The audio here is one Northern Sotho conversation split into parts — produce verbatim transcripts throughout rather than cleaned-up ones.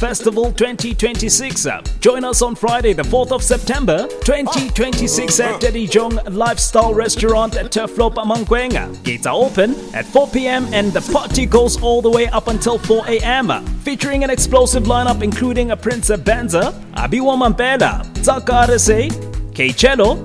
Festival twenty twenty-six. Join us on Friday, the fourth of September twenty twenty-six at Jong Lifestyle Restaurant at Turfloop, Mankweng. Gates are open at four p m and the party goes all the way up until four a m. Featuring an explosive lineup including a Prince Benza, Abiwa Mampela, Tsaka R S A, K-Cello,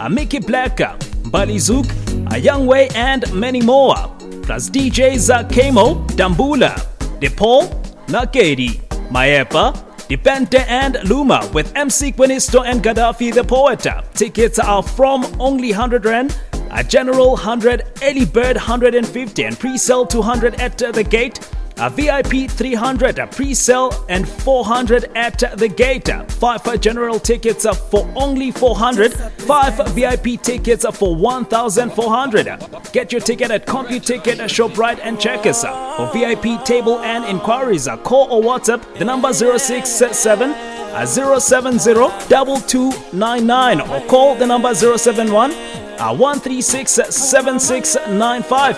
Mickey Black, Bali Zouk, a Young Way, and many more. Plus D Js Kemo, Dambula, DePaul, Nakedi, Maepa, Dipente and Luma with M C Quinisto and Gaddafi the Poet. Tickets are from only one hundred Rand, a general one hundred, early bird one hundred fifty and pre-sale two hundred at the gate. A V I P three hundred, a pre-sale and four hundred at the gate. Five general tickets for only four hundred, five V I P tickets for one thousand four hundred. Get your ticket at CompuTicket, ShopRite and Checkers. For V I P table and inquiries, call or WhatsApp the number zero six seven zero seven zero two two nine nine or call the number zero seven one one three six seven six nine five.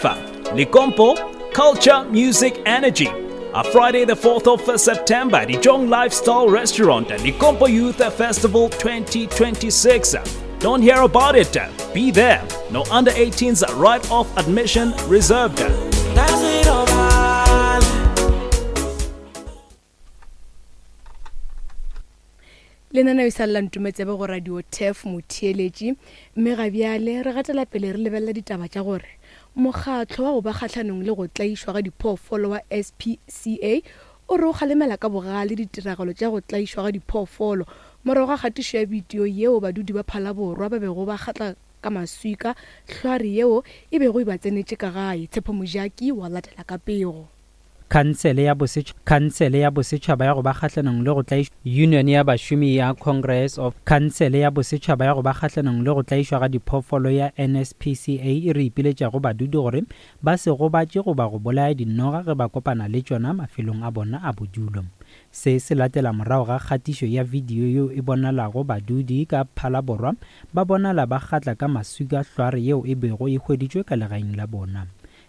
Lekompo, Culture, Music, Energy. A Friday, the fourth of September, the Jong Lifestyle Restaurant, Lekompo Youth Festival twenty twenty-six. Don't hear about it. Be there. No under eighteens, right of admission reserved. Ka se robale. Lenaneo e sa lela ntumetsebe go Radio Turf, motheeletši, mme ga bjale re gatela pele re lebelela ditaba tša gore mokgatlo wa go ba kgahlanong le go tlaišwa ga diphoofolo wa S P C A o re o kgalemela ka bogale ditiragalo tša go tlaišwa ga diphoofolo morago ga kgatišo ya bidio yeo badudi ba Phalaborwa ba bego ba kgatla ka maswika hlware yeo e bego e ba tsenetše ka gae. Tshepo Mojaki wa latela ka pego. Khansele ya Bosetšhaba Khansele ya Bosetšhaba ya go ba kgahlanong le go tlaišwa Union ya Bašomi ya Congress of Khansele ya Bosetšhaba ya go ba kgahlanong le go tlaišwa ga diphoofolo ya N S P C A e re ipiletša go badudi gore ba se gobatše goba go bolaya dinoga ge ba kopana le tšona mafelong a bona a bodulo. Se se latela morago ga kgatišo ya video yeo e bonalago badudi ka Phalaborwa ba bonala ba kgatla ka maswika hlware yeo e bego e hweditšwe ka legaeng la bona.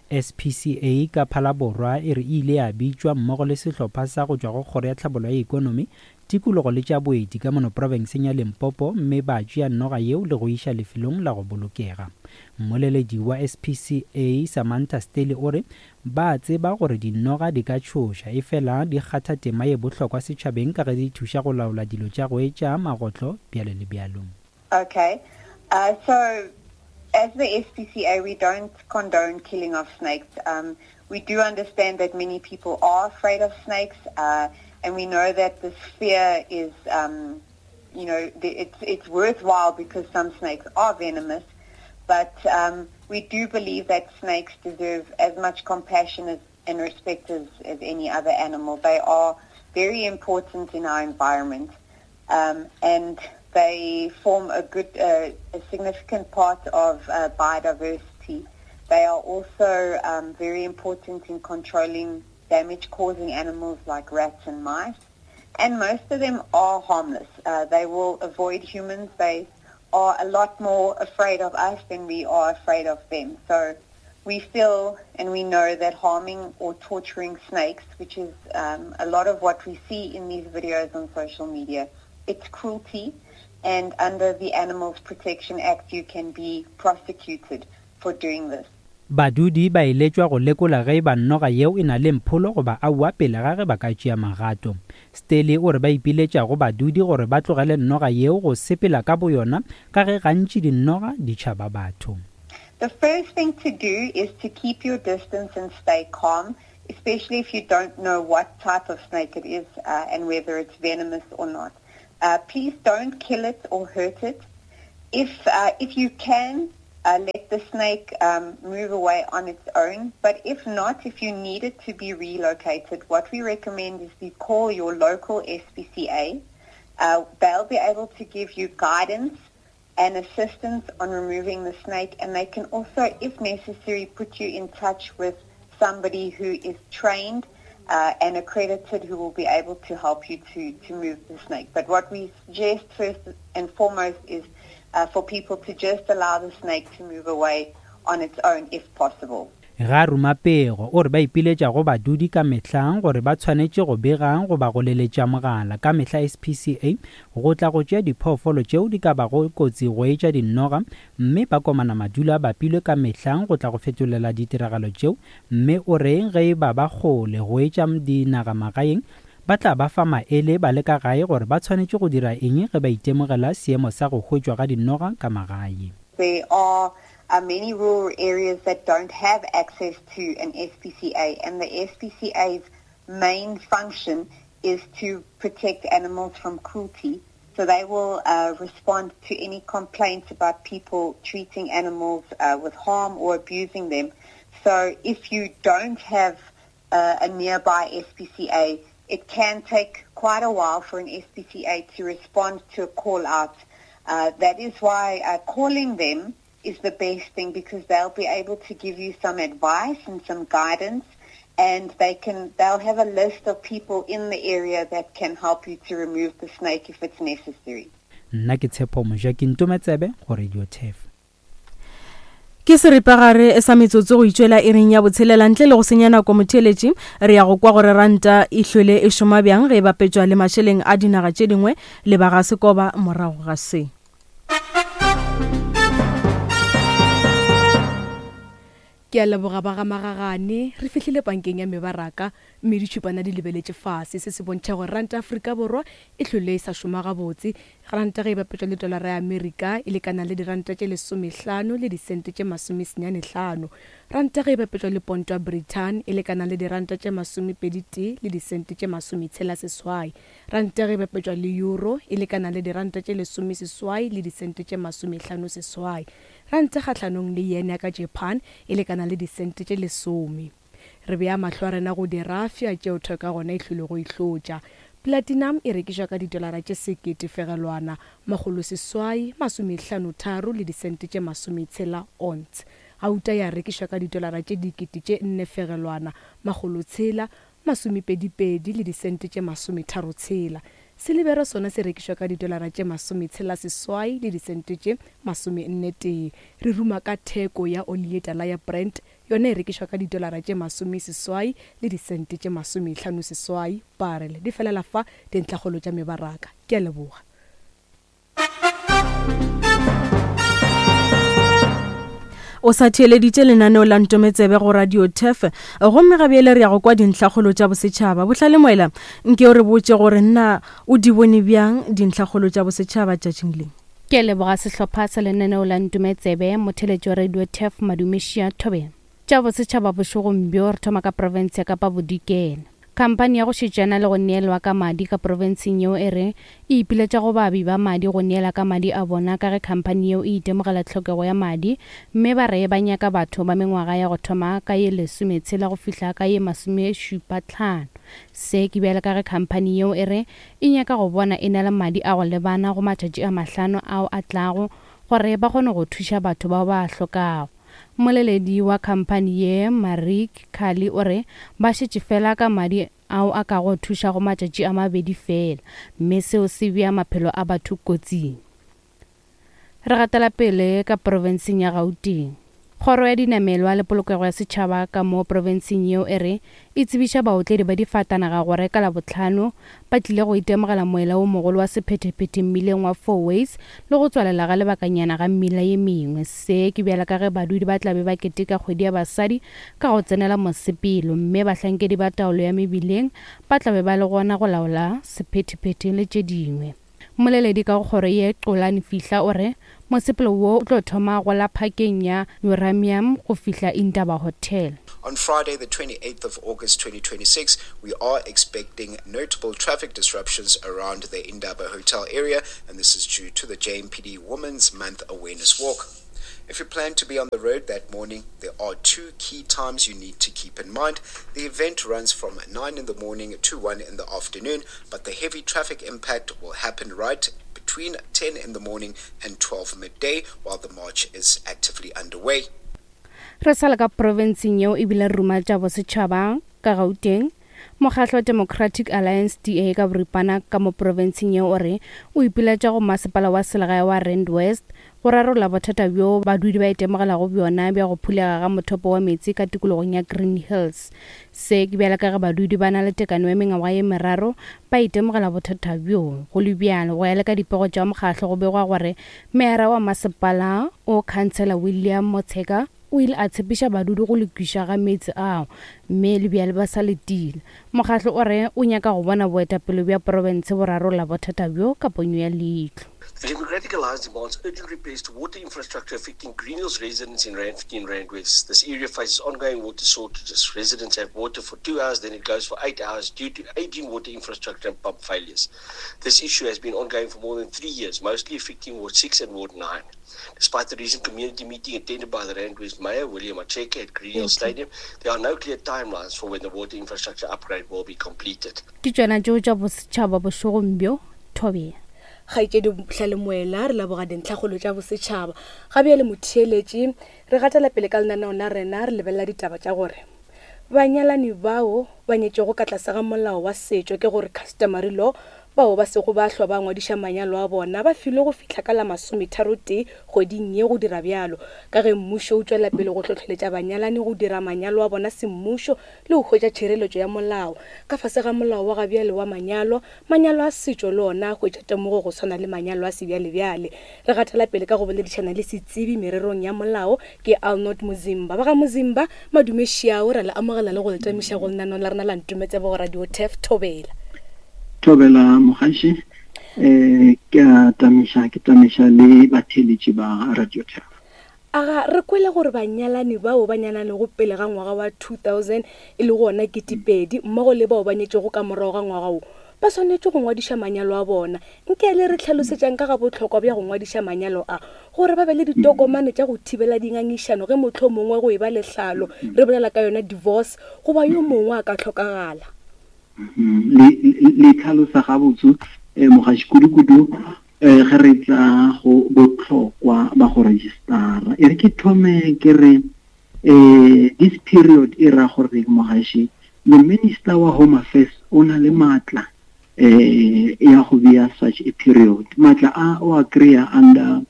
S P C A ka Phalaborwa e re e ile ya bitšwa mmogo le sehlopha sa go tšwa go Kgoro ya Tlhabollo ya Ekonomi, Tikologo le tša Boeti ka mono profenseng ya Limpopo, mme ba tšea noga yeo le go iša lefelong la go bolokega. Mmoleledi wa S P C A Samantha Stelly o re ba tseba gore dinoga di ka tšhoša, efela di kgatha tema ye bohlokwa setšhabeng ka ge di thuša go laola dilo tša go etša magotlo, bjalo le bjalo. Okay. Uh, so as the S P C A, we don't condone killing of snakes. Um, we do understand that many people are afraid of snakes, uh, and we know that this fear is, um, you know, the, it's, it's worthwhile because some snakes are venomous. But um, we do believe that snakes deserve as much compassion as, and respect as, as any other animal. They are very important in our environment, um, and they form a good, uh, a significant part of uh, biodiversity. They are also um, very important in controlling damage-causing animals like rats and mice. And most of them are harmless. Uh, they will avoid humans. They are a lot more afraid of us than we are afraid of them. So we feel and we know that harming or torturing snakes, which is um, a lot of what we see in these videos on social media, it's cruelty. And under the Animals Protection Act, you can be prosecuted for doing this. Badudi ba eletšwa go lekola ge ba noga yeo e na le mpholo goba aowa pele ga ge ba ka tšea magato. Stelly o re ba ipiletša go badudi gore ba tlogele noga yeo go sepela ka boyona ka ge gantši dinoga di tšhaba batho. The first thing to do is to keep your distance and stay calm, especially if you don't know what type of snake it is uh, and whether it's venomous or not. Uh, please don't kill it or hurt it. If, uh, if you can, uh, let the snake um, move away on its own. But if not, if you need it to be relocated, what we recommend is you call your local S P C A. Uh, they'll be able to give you guidance and assistance on removing the snake, and they can also, if necessary, put you in touch with somebody who is trained uh, and accredited who will be able to help you to, to move the snake. But what we suggest first and foremost is uh, for people to just allow the snake to move away on its own if possible. Ga ruma pego o re ba ipiletša go badudi ka mehla gore ba tshwanetše go bega goba go leletša mogala ka mehla S P C A go tla go tšea diphoofolo tšeo di ka bago kotsi go etša dinoga, mme ba komana madulo a bapilwe ka mehla go tla go fetolela ditiragalo tšeo, mme o re ge e ba ba kgole go etša dinagamagaeng ba tla ba fa maele ba le ka gae gore ba tshwanetše go dira eng ge ba itemogela seemo sa go hwetšwa ga dinoga ka magae. There are Uh, many rural areas that don't have access to an S P C A, and the S P C A's main function is to protect animals from cruelty. So they will, uh, respond to any complaints about people treating animals, uh, with harm or abusing them. So if you don't have, uh, a nearby S P C A, it can take quite a while for an S P C A to respond to a call out. Uh, that is why, uh, calling them is the best thing, because they'll be able to give you some advice and some guidance, and they can, they'll have a list of people in the area that can help you to remove the snake if it's necessary. Nna ke Tshepo Moja, ke Ntometsebe go Radio Turf. Ke seripagare sa metsotso go itšwela iring ya botshelela ntle le go senya nako motheeletši, re ya go kwa gore ranta e hlwele e šoma bjang ge e bapetšwa le mašeleng a dinaga tše dingwe le ba ga Sekoba morago ga se. Ke a leboga ba ga Magagane, re fihlile bankeng ya mebaraka mme ditšhupana di lebeletše fase. Se se bontšha gore ranta Afrika Borwa e hlwele e sa šoma gabotse. Ranta ge e bapetšwa le dolara ya Amerika e lekana le diranta tše lesomehlano le disente tše masomesenyane hlano. Ranta ge e bapetšwa le ponto ya Britain e lekana le diranta tše masomepedi tee le disente tše masometshela seswai. Ranta ge e bapetšwa le euro e lekana le diranta tše lesomeseswai le disente tše masomehlano seswai. Ranta kgahlanong le yen ya ka Japan e lekana le disente tše lesome. Re bea mahlo a rena go dirafia tšeo theko ya gona e hlwele go ihlotša. Platinum e rekišwa ka didolara tše sekete fegelwana makgolo seswai masomehlano tharo le disente tše masometshela ounce. Gauta ya rekišwa ka didolara tše dikete tše nne fegelwana makgolo tshela masomepedipedi le disente tše masometharo tshela. Silibera sona se rekišwa ka didolara tše masometshela seswai le disente tše masomenne tee. Re ruma ka theko ya oli ye tala ya Brent, yona e rekišwa ka didolara tše masomeseswai le disente tše masomehlano seswai barrel. Di felela fa dintlhakgolo tša mebaraka. Ke a leboga. O sa theeleditše lenaneo la Ntometsebe go Radio Turf, gomme ga bjale re ya go kwa dintlhakgolo tša bosetšhaba. Bohlale Moela, nke o re botše gore nna o di bone bjang dintlhakgolo tša bosetšhaba tšatšing le. Ke leboga sehlopha sa lenaneo la Ntometsebe, motheeletši wa Radio Turf Madumešia Thobela. Tša bosetšhaba bošegong bjo re thoma ka profense ya Kapa Bodikela. Khamphani ya go šetšana le go neelwa ka madi ka profenseng yeo e re e ipiletša go baabi ba madi go neela ka madi a bona ka ge khamphani yeo e itemogela tlhokego ya madi, mme ba re ba nyaka batho ba mengwaga ya go thoma ka ye lesometshela go fihla ka ye masomešupa tlhano. Se ke bjale ka ge khamphani yeo e re e nyaka go bona e na le madi a go lebana go matšatši a mahlano ao a tlago gore ba kgone go thuša batho bao ba hlokago. Mmoleledi wa khamphani ye Marik Kali o re ba šetše fela ka madi ao a ka go thuša go matšatši a mabedi fela, mme seo se bea maphelo a batho kotsing. Re gatela pele ka profenseng ya Gauteng. Kgoro ya dinamelwa le polokego ya setšhaba ka mo profenseng yeo e re e tsebiša baotledi ba difatanaga gore ka Labohlano ba tlile go itemogela moela wo mogolo wa sephethephethe mmileng wa Four Ways le go tswalela ga lebakanyana ga mmila ye mengwe. Se ke bjala ka ge badudi ba tla be ba keteka kgwedi ya basadi ka go tsenela mosepelo, mme bahlankedi ba taolo ya mebileng ba tla be ba le gona go laola sephethephethe le tše dingwe. Mmoleledi ka go kgoro ye Xolani Fihla o re mosepelo wo o tlo thoma go la phakeng ya Uranium go fihla Indaba Hotel. On Friday, the twenty-eighth of August twenty twenty-six, we are expecting notable traffic disruptions around the Indaba Hotel area, and this is due to the J M P D Women's Month Awareness Walk. If you plan to be on the road that morning, there are two key times you need to keep in mind. The event runs from nine in the morning to one in the afternoon, but the heavy traffic impact will happen right between ten in the morning and twelve midday while the march is actively underway. Re sa le ka profenseng yeo ebile re ruma tša bosetšhaba ka Gauteng. Mokgatlo wa Democratic Alliance D A ka boripana ka mo profenseng yeo o re o ipiletša go masepala wa selegae wa Rand West go rarolla bothata bjo badudi ba itemogelago bjona bja go phulega ga mothopo wa meetse ka tikologong ya Green Hills. Se ke bjale ka ge badudi ba na le tekano ya mengwaga ye meraro ba itemogela bothata bjo. Go le bjalo, go ya le ka dipego tša mokgahlo go begwa gore meyara wa masepala o Councillor William Motsheka o ile a tshepiša badudi go lokiša ga meetse ao, mme le bjale ba sa letile. Mokgahlo o re o nyaka go bona boetapele bja profense bo rarolla bothata bjo ka ponyo ya leihlo. The Democratic Alliance demands urgent repairs to water infrastructure affecting Green Hills residents in Randfontein, Rand West. This area faces ongoing water shortages. Residents have water for two hours, then it goes for eight hours due to aging water infrastructure and pump failures. This issue has been ongoing for more than three years, mostly affecting Ward six and Ward nine. Despite the recent community meeting attended by the Rand West Mayor, William Macheke, at Green Hills Stadium, there are no clear timelines for when the water infrastructure upgrade will be completed. Ke tšona tšeo tša bosetšhaba bošegong bjo, Thobela. Kgaetšedi Tlalemoela, re leboga dintlhakgolo tša bosetšhaba. Ga bjale motheeletši, re gatela pele ka lenaneo la rena, re lebelela ditaba tša gore banyalani bao ba nyetšego ka tlase ga molao wa setšo, ke gore customary law, bao ba sego ba hlwa ba ngwadiša manyalo a bona ba filwe go fihla ka la masometharotee kgweding ye go dira bjalo, ka ge mmušo o tšwela pele go hlohleletša banyalani go dira manyalo a bona semmušo le go hwetša tšhireletšo ya molao. Ka fase ga molao wa gabjale wa manyalo, manyalo a setšo le ona a hwetša temogo go swana le manyalo a sebjalebjale. Re gatela pele ka go boledišana le setsebi mererong ya molao, ke Arnold Muzimba. Ba ga Muzimba, madume šiao, ra le amogela le go le tamiša go lenaneo la rena la Ntumetsebo go Radio Turf. Thobela. Thobela mogaši, eh ke a tamiša, ke tamiša le batheeletši ba Radio Turf. Aga re kwele gore banyalani bao ba nyalanego pele ga ngwaga wa two thousand e le gona ketepedi, mmogo le bao ba nyetšego ka morago ga ngwaga wo, ba swanetše go ngwadiša manyalo a bona. Nke le re tlhalosetšang ka ga bohlokwa bja go ngwadiša manyalo a, gore ba be le ditokomane tša go thibela dingangišano ge mohlomongwe go e ba lehlalo, re bolela ka yona divorce, goba yo mongwe a ka hlokagala. Le le tlhalosa gabotse eh mogaši, kudu-kudu eh ge re tla go bohlokwa ba go registera. E re ke thome ke re eh this period e ra gore mogaši, the minister wa Home Affairs o na le matla eh ya go bea such a period. Matla a o a kry-a under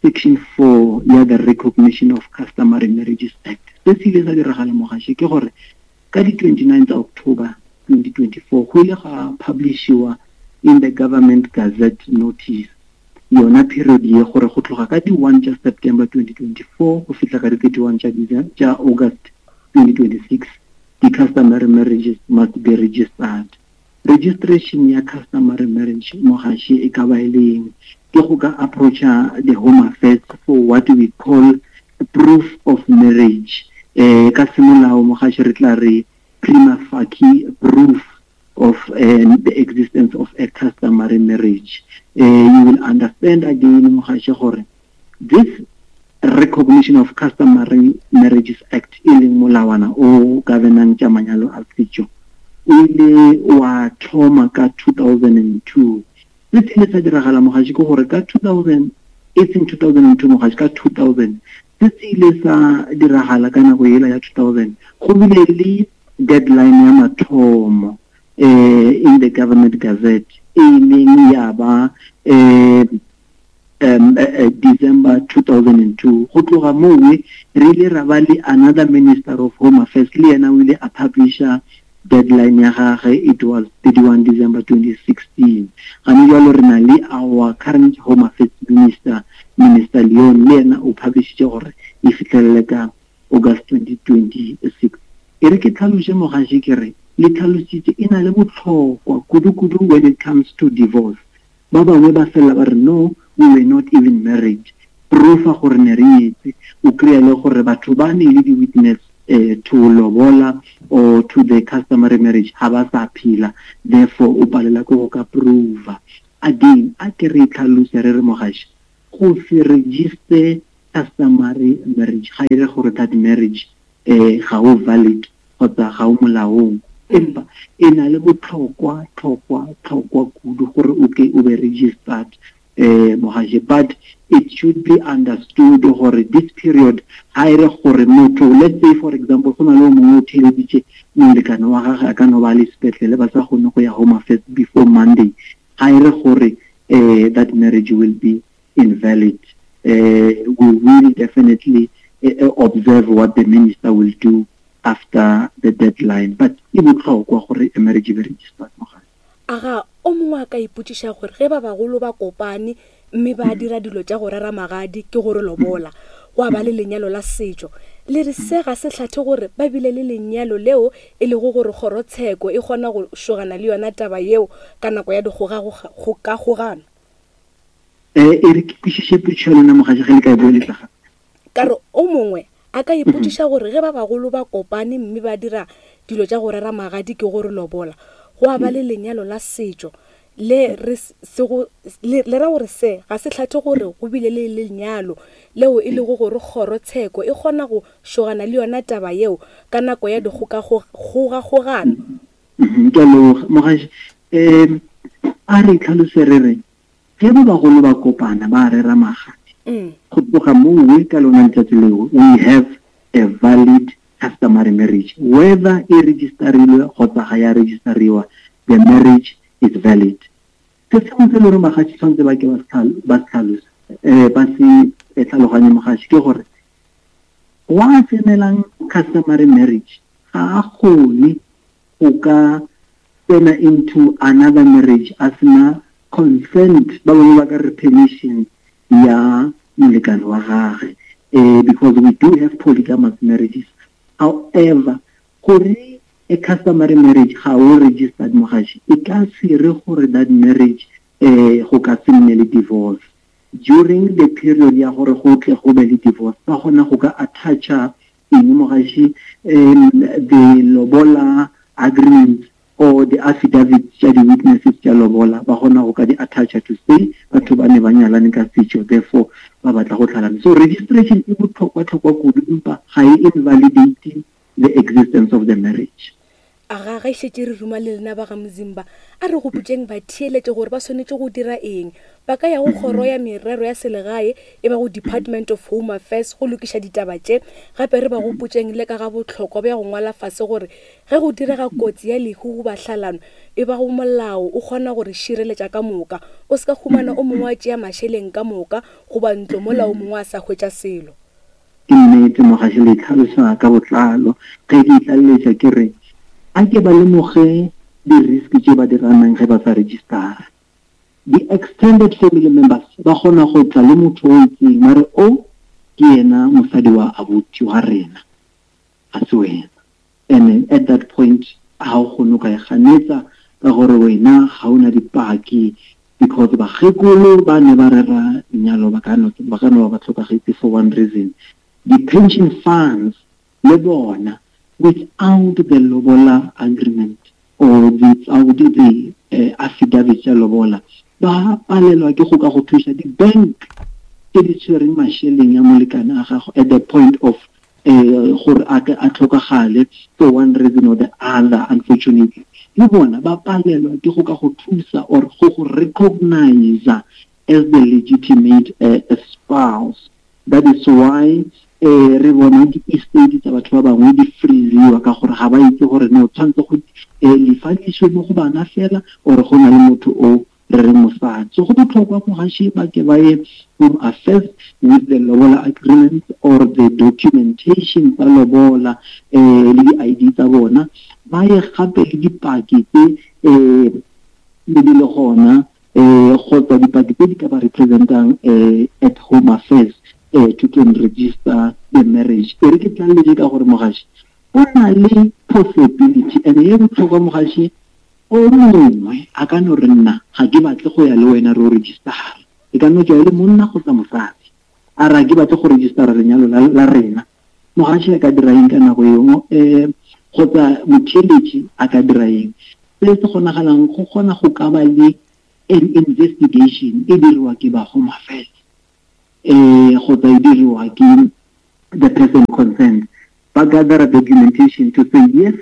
section four ya the Recognition of Customary Marriages Act. Se se ile sa diragala mogaši ke gore ka di twenty-nine tsa October twenty twenty-four go ile ga publishiwa in the Government Gazette notice yona period ye gore go tloga ka di one tša September twenty twenty-four go fihla ka di thirty-one tša tša August twenty twenty-six, the customary marriages must be registered. Registration ya customary marriage mogaši e ka ba e leng ke go ka approacha the Home Affairs for what we call proof of marriage. Eh ka semolao mogaši re tla re prima facie proof of um, the existence of a customary marriage. Uh, you will understand again mogaši gore this Recognition of Customary Marriages Act e leng molawana o governang tša manyalo a setšo o ile wa thoma ka two thousand two. Se se ile sa diragala mogaši ke gore ka two thousand, e seng two thousand two mogaši, ka two thousand, se se ile sa diragala ka nako yela ya two thousand, go bile le deadline ya mathomo eh in the Government Gazette e leng ya ba eh um uh, December two thousand two. Go tloga mowe re ile ra ba le another Minister of Home Affairs, le yena o ile a publisha deadline ya gagwe, it was thirty-one December twenty sixteen. Gane jwalo re na le our current Home Affairs Minister, Minister Leon, le yena o publishitše gore e fihlelele ka August twenty twenty-six. E re ke tlhaloše mogaši ke re le tlhalositše e na le bohlokwa kudu-kudu when it comes to divorce. Ba bangwe ba fella ba re no, we were not even married. Proof gore ne re nyetse, o kry-a le gore batho ba ne le di-witness eh, to lobola or to the customary marriage ha ba sa phela, therefore o palela ke go ka prova. Again, a ke re tlhalose re re mogaši, go se register customary marriage ga e re gore that marriage eh ga o valid kgotsa ga o molaong, empa e na le botlhokwa tlhokwa tlhokwa kudu gore o ke o be registered eh mogaši. But it should be understood gore this period ga e re gore motho, let's say for example, go na le o mongwe o theeleditše molekane wa gagwe a ka no ba le sepetlele ba sa kgone go ya Home Affairs before Monday, ga e re gore eh that marriage will be invalid. Uh, we will definitely uh, observe what the minister will do after the deadline. But e bohlokwa gore a marriage e be registered mogaši. Aga o mongwe a ka ipotšiša gore ge ba bagolo ba kopane mme ba dira dilo tša go rera magadi ke gore lobola gwa ba le lenyalo la setšo, le re se ga se hlathe gore ba bile le lenyalo leo e lego gore kgorotsheko e kgona go šogana le yona taba yeo ka nako ya dikgokagano? Eh, e re ke kwešiše potšišo ya lena mogaši ge le ka e boeletsa gape. Ka re o mongwe a ka ipotšiša gore ge ba bagolo ba kopane mme ba dira dilo tša go rera magadi ke gore lobola gwa ba le lenyalo la setšo, le re se go le le ra gore se ga se hlathe gore go bile le lenyalo leo e lego gore kgorotsheko e kgona go šogana le yona taba yeo ka nako ya dikgokagogano. Ke a leboga mogaši. Um a re tlhalose re re ge ba bagolo ba kopana ba rera magadi, go tloga moo ka lona letsatsi leo we have a valid customary marriage, whether e registerilwe kgotsa ga ya registeriwa, the marriage is valid. Se sengwe se le gore mogaši tshwanetse ba ke ba se tlhalose, um ba se tlhaloganye mogaši, ke gore wa tsenelang customary marriage ga a kgone go ka tsena into another marriage a sena consent, ba bangwe ba ka re permission ya molekane wa gagwe, eh, because we do have polygamous marriages. However, gore a customary marriage ga o registered mogaši, e ka se re gore that marriage eh go ka se nne le divorce. During the period ya gore go tle go be le divorce, ba kgona go ka attacha eng mogaši, um the lobola agreement or the affidavits tša di-witnesses tša lobola, ba kgona go ka di attacha to say batho ba ne ba nyalane ka setšo, therefore ba batla go tlhalana. So registration e bohlokwa-hlokwa kudu, empa ga e invalidate the existence of the marriage. Aga ga šetše re ruma le lena ba ga Mzimba, a re gopotšeng ba theeletše gore ba swanetše go dira eng. Ba ka ya go kgoro ya merero ya selegae e ba go Department of Home Affairs go lokiša ditaba tše. Gape re ba gopotšeng le ka ga bohlokwa bja go ngwala fase gore ge go direga kotsi ya lehu goba hlalano e ba go molao o kgona gore šireletša ka moka, o se ka humana o mongwe a tšea mašeleng ka moka goba ntlo mola o mongwe a sa hwetša selo. Ke nnete mogaši, le tlhalosa ka botlalo. Ge ke itlaleletša ke re a ke ba lemoge di-risk tše ba di ranang ge ba sa registera. Di-extended family members ba kgona go tla le motho o itseng mare o ke yena mosadi wa abuti wa rena, ga se wena. And at that point ga o kgone go ka e ganetsa ka gore wena ga o na dipaki, because bakgekolo ba ne ba rera lenyalo ba ka no ba ka no ba tlhokagetse for one reason. Di-pension funds le bona without the lobola agreement or without the uh, affidavit tša lobola ba palelwa ke go ka go thuša. Di-bank tse di tshwereng mašeleng a molekane a gago at the point of uh, gore a ke a tlhokagale for one reason or the other, unfortunately le bona ba palelwa ke go ka go thusa or go go recognize as the legitimate uh, spouse. That is why eh re bona di-estate tsa batho ba bangwe di freeziwa ka gore ga ba itse gore no tshwanetse go lefadiswe mo go bana fela or go na le motho o re re mosadi. So go botlhokwa mogaši ba ke ba ye Home Affairs with the lobola agreement or the documentation tsa lobola eh le di-I D tsa bona, ba ye gape le dipaki tse eh le di le gona eh kgotsa dipaki tse di ka ba representang eh at Home Affairs eh to can register the marriage. E re ke tlaleletse ka gore mogaši go na le possibility and e botlhokwa mogaši, o mongwe a ka no re nna ga ke batle go ya le wena re o registera, e ka no tswa e le monna kgotsa mosadi, a re ga ke batle go registera lenyalo la, la rena. Mogaši a ka dira eng ka nako eo, um kgotsa motheeletši a ka dira eng? Se se kgonagalang go kgona go ka ba le an investigation e diriwa ke ba Home Affairs eh kgotsa e diriwa ke the person concerned, ba gather documentation to say yes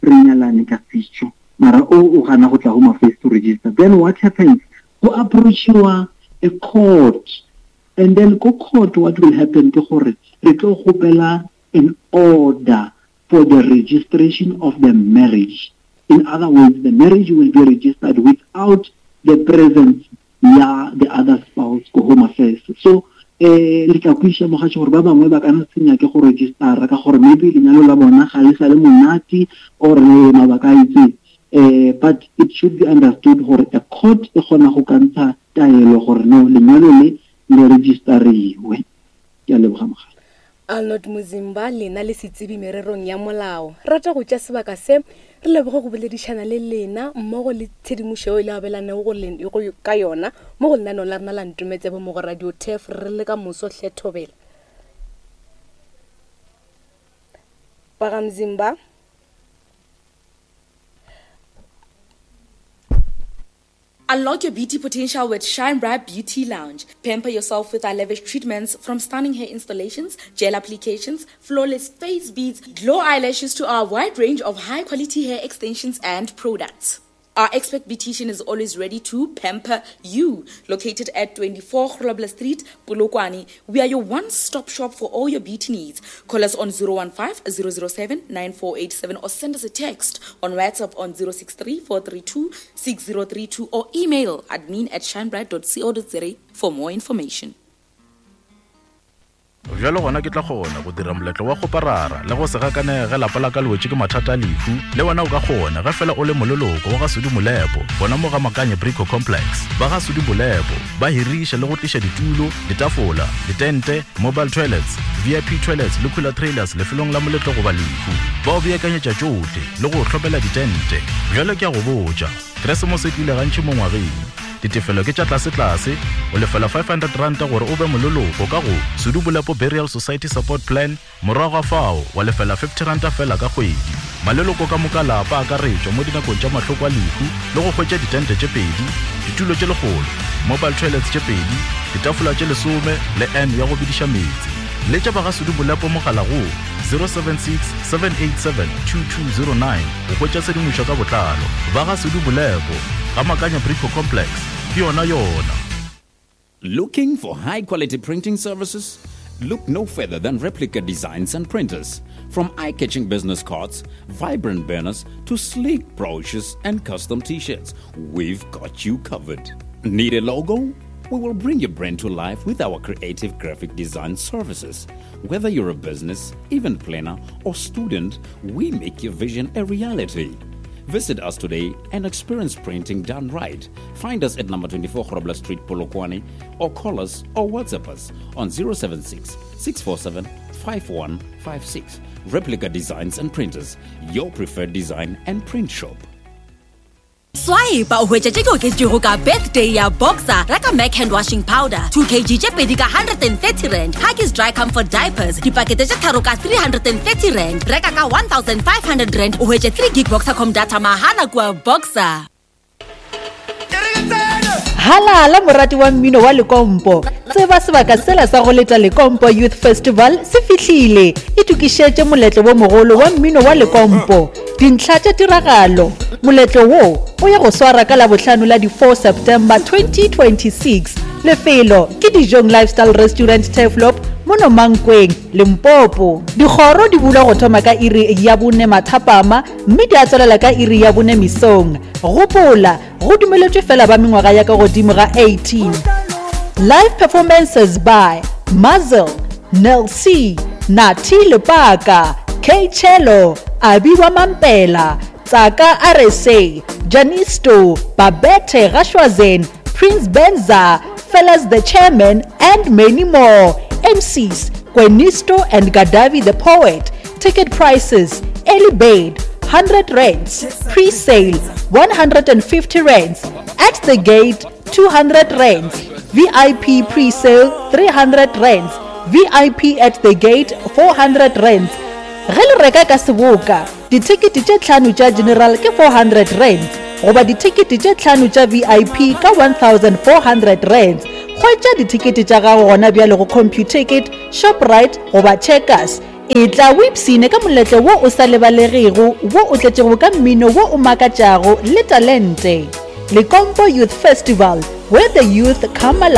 re nyalane ka setšo, mara o o gana go tla Home Affairs to register. Then what happens? Go approachiwa a court, and then go court what will happen ke gore re tlo kgopela an order for the registration of the marriage. In other words, the marriage will be registered without the presence ya the other spouse go Home Affairs. So Eh le tla kwešiša mogatši gore ba bangwe ba ka no se nyake go registera ka gore maybe lenyalo la bona ga le sa le monate or mabaka a itseng. Eh but it should be understood gore a court e kgona go ka ntsha taelo gore no lenyalo le le registeriwe. Ke a leboga mogatši. Arnold Muzimba lena le setsebi mererong ya molao. Rata go tša sebaka se re leboge go boledišana le lena mmogo le tshedimošo yeo e le abelanego go len- go ka yona mo go lenaneo la rena la Ntometsebe mo go Radio Turf re le ka moso hle thobela. Baga Mzimba. Unlock your beauty potential with Shine Bright Beauty Lounge. Pamper yourself with our lavish treatments from stunning hair installations, gel applications, flawless face beads, glow eyelashes to our wide range of high quality hair extensions and products. Our expert beautician is always ready to pamper you. Located at twenty-four Grobler Street, Polokwane, we are your one-stop shop for all your beauty needs. Call us on zero one five, zero zero seven, nine four eight seven or send us a text on WhatsApp on zero six three, four three two, six zero three two or email admin at shinebright dot co dot za for more information. Bjalo gona ke tla kgona go dira moletlo wa go parara le go se gakanege ge lapa la ka le wetše ke mathata a lehu. Le wena o ka kgona ge fela o le moleloko wa ga Sudi Molepo gona mo ga Makanye Brico Complex. Ba ga Sudi Molepo ba hiriša le go tliša ditulo, ditafola, ditente, mobile toilets, V I P toilets le cooler trailers lefelong la moletlo goba lehu. Ba o beakanyetša tšohle le go hlopela ditente. Bjalo ke a go botša, Keresemose e tlile gantši mo ngwageng. Ditefelo ke tša tlase-tlase, o lefela five hundred ranta gore o be moleloko ka go Sudi Molepo Burial Society Support Plan, morago ga fao wa lefela fifty ranta fela ka kgwedi. Maleloko ka moka lapa a akaretšwa mo dinakong tša mahloko a lehu le go hwetša ditente tše pedi, ditulo tše lekgolo, mobile toilets tše pedi, ditafola tše lesome le N ya go bediša meetse. Letša ba ga Sudi Molepo mogala go zero seven six, seven eight seven, two two zero nine go hwetša tshedimošo ka botlalo. Ba ga Sudi Molepo ga Makanya Brico Complex, ke yona yona. Looking for high quality printing services? Look no further than Replica Designs and Printers. From eye-catching business cards, vibrant banners, to sleek brochures and custom t-shirts, we've got you covered. Need a logo? We will bring your brand to life with our creative graphic design services. Whether you're a business, event planner, or student, we make your vision a reality. Visit us today and experience printing done right. Find us at number twenty-four Grobler Street, Polokwane, or call us or WhatsApp us on zero seven six, six four seven, five one five six. Replica Designs and Printers, your preferred design and print shop. Swipe o hwetša tše di oketšwego ka birthday ya Boxer, reka Mac hand washing powder two kilograms tše pedi ka hundred and thirty rand, Huggies dry comfort diapers dipakete tše tharo ka three hundred and thirty rand, reka ka one thousand five hundred rand o hwetše three gig Boxercom data mahala kua Boxer. Halala morati wa mmino wa Lekompo, tseba sebaka sela sa go leta Lekompo Youth Festival se fihlile. Itokišetše moletlo wo mogolo wa mmino wa Lekompo. Dintlha tša tiragalo. Moletlo wo o ya go swara ka Labohlano la di four September twenty twenty-six. Lefelo ke Dijong Lifestyle Restaurant Turfloop mono Mankweng, Limpopo. Dikgoro di bulwa go thoma ka iri ya bone mathapama mme di a tswelela ka iri ya bone mesong. Gopola, go dumeletšwe fela ba mengwaga ya ka godimo ga eighteen. Live performances by Mazel, Nel C, Nati Lepaka, K Chelo, Abiwa Mampela, Tsaka R S A, Janisto, Babette Gashwazen, Prince Benza, Fellas the Chairman, and many more. M Cs, Kwenisto and Gadavi the Poet. Ticket prices, early bird, hundred rands, pre-sale, one hundred and fifty rands, at the gate, two hundred rands, V I P pre-sale, three hundred rands, V I P at the gate, four hundred rands. Ge le reka ka seboka, dithekete tše tlhano tša general ke four hundred rands, goba dithekete tše tlhano tša V I P ka one thousand four hundred rands. Hwetša dithekete tša gago gona bjale go Computicket, Shoprite goba Checkers. E tla o ipshine ka moletlo wo o sa lebalegego, wo o tletšego ka mmino wo o makatšago le talente. Lekompo Youth Festival, where the youth come alive.